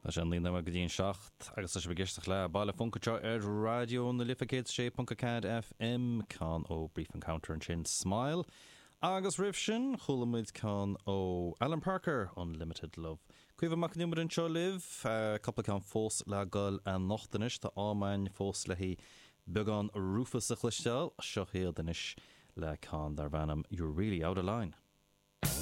Tá sé 9 nóiméad go dtí an 7 agus tá sibh ag éisteacht le Baile Func anseo ar Raidió na Life 106.4 FM, ceann ó Brief Encounter ansin, Smile. Agus roimh sin, chuala muid ceann ó Alan Parker, Unlimited Love. Caoimhe Mac Con Iomaire anseo libh, cúpla ceann fós le goil anocht anois, tá am againn fós le haghaidh beagán Rufus a chloisteáil, seo iad anois le ceann darb ainm You're Really Out of Line.